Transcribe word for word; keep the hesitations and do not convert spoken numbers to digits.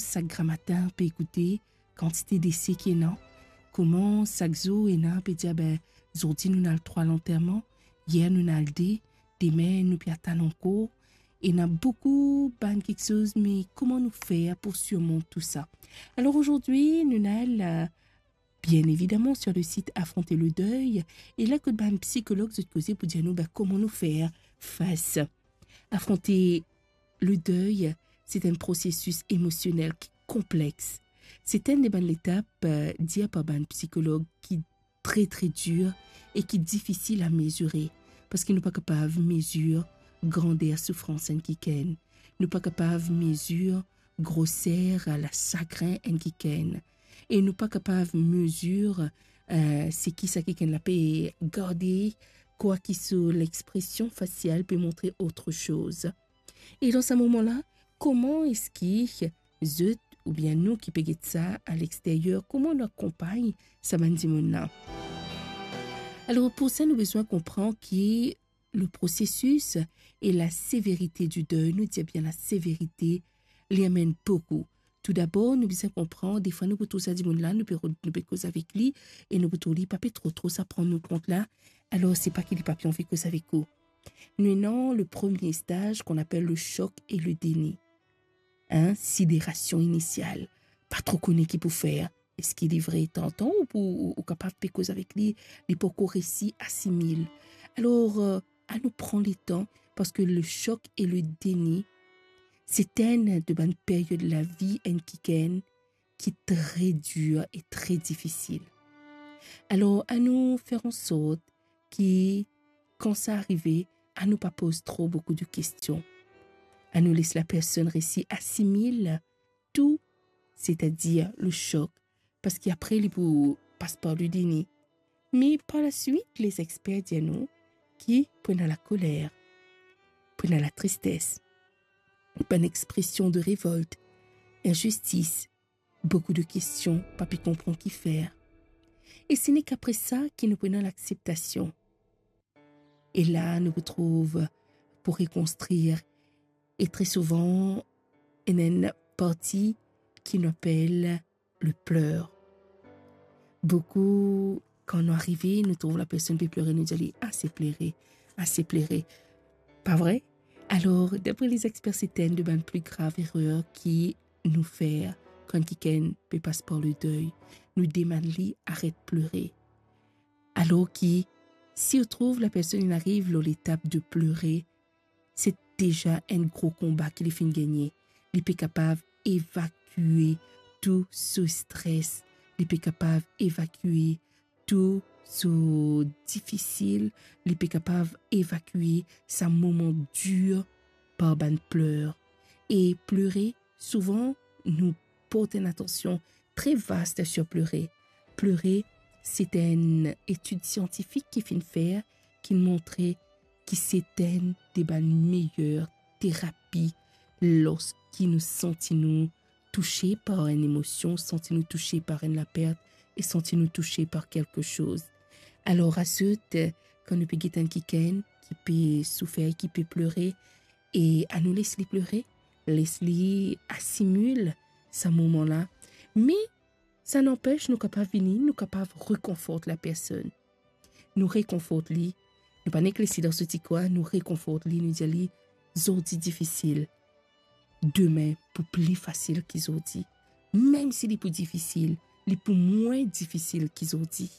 sak gramatin pe ekoute, kantite dese ki ena, kouma sak zour ena pe dir, "Be, zordi nou'nn al trwa lanterman, yer nou'nn al de, dime nou pe atann ankor." Ena boukou bann kiksoz, me kouma nou fer pou sirmont tou sa? Alor azordi, nou'nn al, euh, bien évidemment sur le site Affronter le deuil, e la kot bann psikolog zot koze pou dir nou, be, kouma nou fer fas. Afronte le deuil, se enn prosesis emosionel ki konplex. Se enn de bann letap, euh, dir par bann psikolog ki tre, tre dir e ki difisil a mezire, parski nou pa kapav mezir grander soufrans enn kikenn. Nou pa kapav mezir groser lasagrin enn kikenn. E nou pa kapav mezir, euh, seki sa kikenn la pe garde, kwaki so lexpresion fasial pe montre otre soz. E dan sa moman la, kouma eski zot oubien nou ki pe get sa a lexteryer, kouma nou akonpagn sa bann dimoun la? Alor, pou sa, nou bizin konpran ki le prosesis e la severite du deuil, nou dir bien la severite, li amenn boukou. Toudabor, nou bizin konpran, defwa nou pou trouv sa dimoun la, nou pe ro-, nou pe koz avek li, e nou pou trouv li pa pe tro, tro sa pran nou kont la, alor se pa ki li pa pe anvi koz avek ou. Nou ena le premie staz ki apel le choc et le déni. Hein, sidération initiale. Pa tro kone ki pou fer. Eski li vre tantan ou pou, ou, ou kapav pe koz avek li, li pankor resi asimil. Alor, euh, anou pran letan, parski le choc et le déni, se enn de bann period lavi enn kikenn ki tre dir e tre difisil. Alor, anou fer ansort ki, kan sa arive, anou pa poz tro boukou de kestion. Anou les lapersonn resi asimil tou, setadir le choc, parski apre li pou pas par le déni. Me par laswit, lezexper dir nou ki pou ena lakoler, pou ena latristes, bann expresion de revolt, inzistis, boukou de kestion, pa pe konpran ki fer. E se nek apre sa ki nou pou ena lakseptasion. E la, nou pou trouv pou rekonstrir. E tre souvan, ena enn parti ki nou apel le pleur. Boukou, kan nou arive, nou trouv lapersonn pe plere, nou dir li, "Ase plere, ase plere." Pa vre? Alor, dapre lezexper, se enn de bann pli grav erer ki nou fer kan kikenn pe pas par le deuil. Nou demann li aret plere. Alor ki, si ou trouv lapersonn inn ariv lor letap de plere, se deza enn gro konba ki li finn gagne. Li pe kapav evakue tou so stres, li pe kapav evakue tou so difisil, li pe kapav evakue sa moman dir par bann pler. E plere, souvan, nou port enn atansion tre vast sur plere. Plere, se enn etid siantifik ki finn fer, ki montre ki se enn de bann meyer terapi lorski nou santi nou touse par enn emosion, santi nou touse par enn lapert e santi nou touse par kelke soz. Alor, azot, kan nou pe get enn kikenn ki pe soufer, ki pe plere, e anou les li plere, les li asimil sa moman la. Me sa nanpes, nou kapav vini, nou kapav rekonfort lapersonn. Nou rekonfort li, nou pa nek les li dan so ti kwin, nou rekonfort li, nou dir li, "Zordi difisil, dime pou pli fasil ki zordi. Mem si li pou difisil, li pou mwin difisil ki zordi."